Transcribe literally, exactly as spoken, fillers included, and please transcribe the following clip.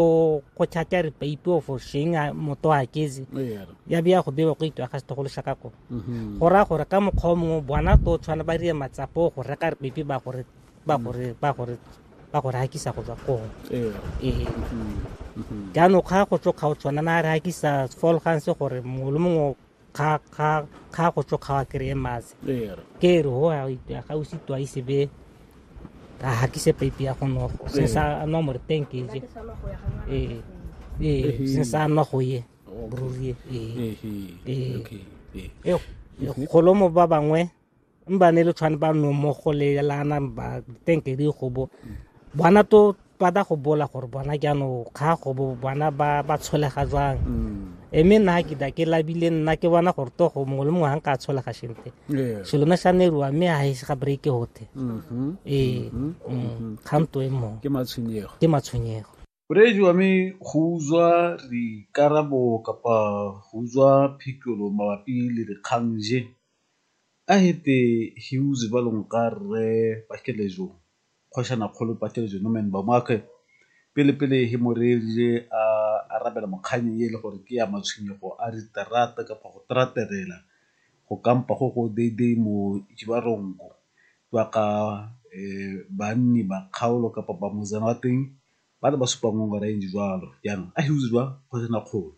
Go tšhatša re peipi o fošeng motho a ketse ya bea go bewa go itwa ga setogolo sa ka ko go raya gore ka mokgwa o mongwe bona to tshwana ba rie matsapo go reka re peipi ba gore ba gore ba gore ba gore hakisa go tswa koo. Ee, jaanong kga go tso kga o tshwana na re hakisa folganse gore mongwe le mongwe kga kga kga go tso kga wa kry-e mase ke re ho ga o sitwa ise be a hakise peipi ya go nogo se sa nwa more teng ke je ee ee se sa nwa go ye ruri ee ee golo mo ba bangwe mba ne le tshwane ba no mo go le lana ba teng ke di go bo bona to ba da go bola gore bona jaanong kga go bo bona ba ba tsholega jwang e mme nna ke da ke labile nna ke bona gore to go mongwe le mongwe ga nka tsholega shente selo ne sa neruwa mme ga e ga break hote ee kganto e mo ke matshwenyego ke matshwenyego Moreetsi wa me go utswa dikarabo kapa go utswa phikolo mabapi le dikgang je a hete he uze ba leng ka rre Pakelejo kgošana kgolo Pakelejo Norman Bamoakhe pele pele he moreeditše a arabela mokganyeng e le gore ke ya matshwenyego a diterata kapa go teraterela go kampa go go deidei mo Jibarongo ba ka banni ba kgaolo kapa ba mozana wa teng ba le ba supa ngongora e ntse jwalo jaanong a he uze jwa kgošana kgolo.